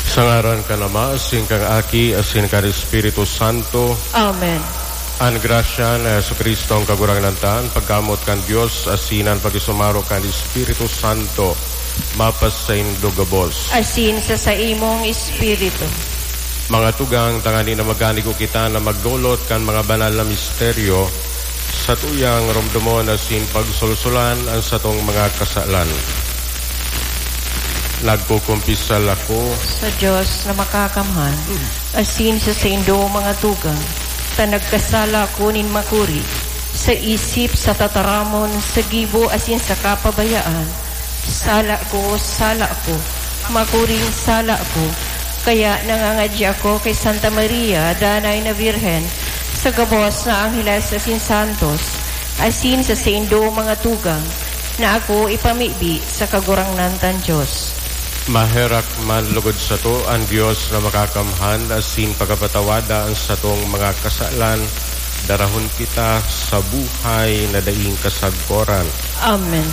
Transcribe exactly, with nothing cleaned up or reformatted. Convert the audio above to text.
Sa ngaran kan Ama, asin kan Aki, asin kan Espiritu Santo. Amen. An grasya ni Jesu-Cristo, an Kagurangnan ta, an pagkamoot kan Dios, asin an pakisumaro kan Espiritu Santo, mapasaindo gabos. Asin sa saimong espiritu. Mga tugang, tangani na magkanigo kita na magdolot kan mga banal na misteryo, satuyang romdomon asin pagsolsolan an satong mga kasalan. Nagkukumpisal ako sa Dios na makakamhan, asin sa saindo, mga tugang, ta nagkasala ako nin makuri, sa isip, sa tataramon, sa gibo, asin sa kapabayaan. Sala ko, sala ko, makuring sala ko. Kaya nangangadya ako kay Santa Maria, Danay na Birhen, sa gabos na angheles asin santos, asin sa saindo, mga tugang, na ako ipamibi sa Kagurangnan tan Dios. Maherak man lugod sato an Dios na makakamhan asin pagapatawada an satong mga kasalan, darahon kita sa buhay na daing kasagkoran. Amen.